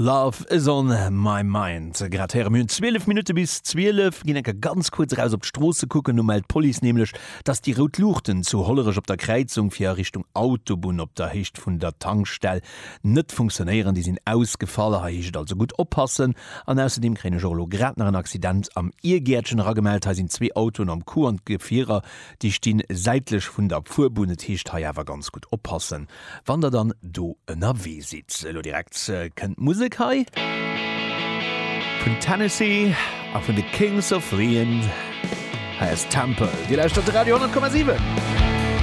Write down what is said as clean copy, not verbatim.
Love is on my mind. Grad héiere mir hunn 12 Minutte bis 12. Ginn enker ganz kuerz eraus op d'Stroosse kucken. Do mellt d'Police nämlech, dass déi rout Luuchten zu Hollerech op der Kräizung fir a Richtung Autobunn op der Héicht vun der Tankstell net funktionéieren. Déi sinn ausgefall. Hei heescht et also gutt oppassen. An ausserdeem kréien ech och elo grad nach en Accident am Iergäertchen eragemellt. Hei sinn zwee Autoen am Coup an d'Gefierer déi stinn säitlech vun der Fuerbunn. Et heescht hei awer ganz gutt oppassen. Wann der dann do ënnerwee sidd. Elo direkt kënnt d'Musek hei vun Tennessee a vun de Kings of Leon. Hei ass Temple. Dir lauschtert de Radio 10,7.